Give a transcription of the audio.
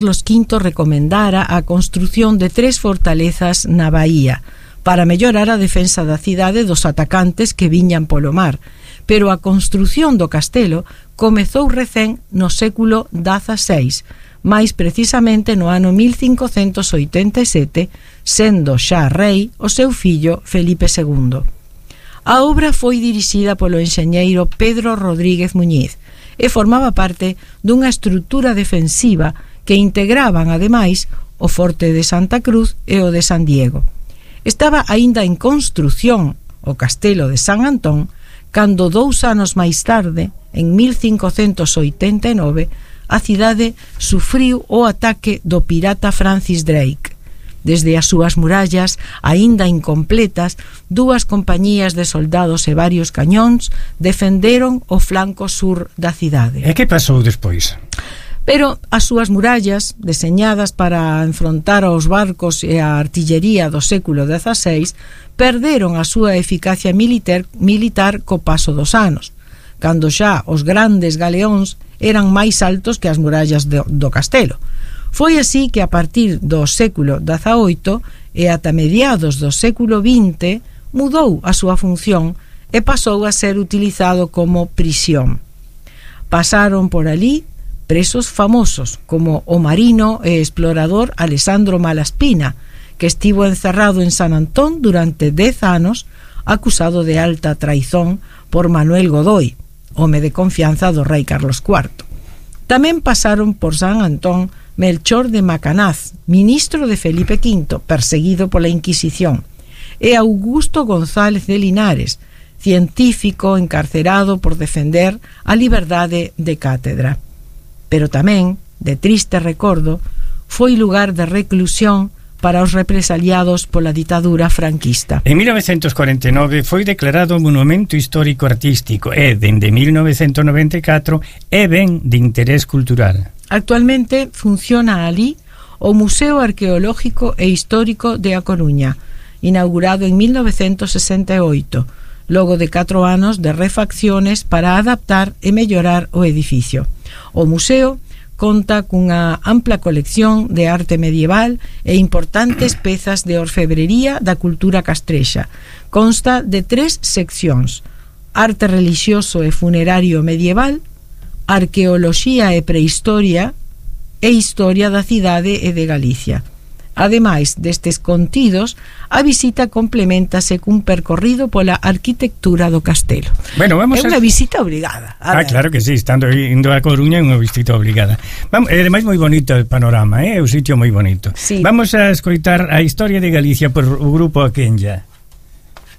Carlos V recomendara a construción de 3 fortalezas na bahía para mellorar a defensa da cidade dos atacantes que viñan polo mar, pero a construción do castelo comezou recén no século XVI, máis precisamente no ano 1587, sendo xa rei o seu fillo Felipe II. A obra foi dirixida polo enxeñeiro Pedro Rodríguez Muñiz e formaba parte dunha estrutura defensiva que integraban, ademais, o Forte de Santa Cruz e o de San Diego. Estaba aínda en construción o Castelo de San Antón cando 2 anos máis tarde, en 1589, a cidade sufriu o ataque do pirata Francis Drake. Desde as súas murallas, aínda incompletas, 2 compañías de soldados e varios cañóns defenderon o flanco sur da cidade. E que pasou despois? Pero as súas murallas, deseñadas para enfrontar aos barcos e a artillería do século XVI, perderon a súa eficacia militar co paso dos anos, cando xa os grandes galeóns eran máis altos que as murallas do castelo. Foi así que a partir do século XVIII e ata mediados do século XX mudou a súa función e pasou a ser utilizado como prisión. Pasaron por ali presos famosos como o marino e explorador Alessandro Malaspina, que estivo encerrado en San Antón durante 10 anos, acusado de alta traizón por Manuel Godoy, home de confianza do rei Carlos IV. Tamén pasaron por San Antón Melchor de Macanaz, ministro de Felipe V, perseguido pola Inquisición, e Augusto González de Linares, científico encarcerado por defender a liberdade de cátedra. Pero tamén, de triste recordo, foi lugar de reclusión para os represaliados pola ditadura franquista. En 1949 foi declarado Monumento Histórico Artístico e, dende 1994, é ben de interés cultural. Actualmente funciona ali o Museo Arqueológico e Histórico de A Coruña, inaugurado en 1968, logo de 4 anos de refacciones para adaptar e mellorar o edificio. O museo conta cunha ampla colección de arte medieval e importantes pezas de orfebrería da cultura castrexa. Consta de 3 seccións: arte relixioso e funerario medieval, arqueoloxía e prehistoria e historia da cidade e de Galicia. Ademais destes contidos, a visita complementase cun percorrido pola arquitectura do castelo. Bueno, vamos é unha visita obligada. Claro que sí, estando indo a Coruña é unha visita obligada. É máis moi bonito o panorama, é un sitio moi bonito. Sí. Vamos a escoitar a historia de Galicia por o grupo Aquenlla.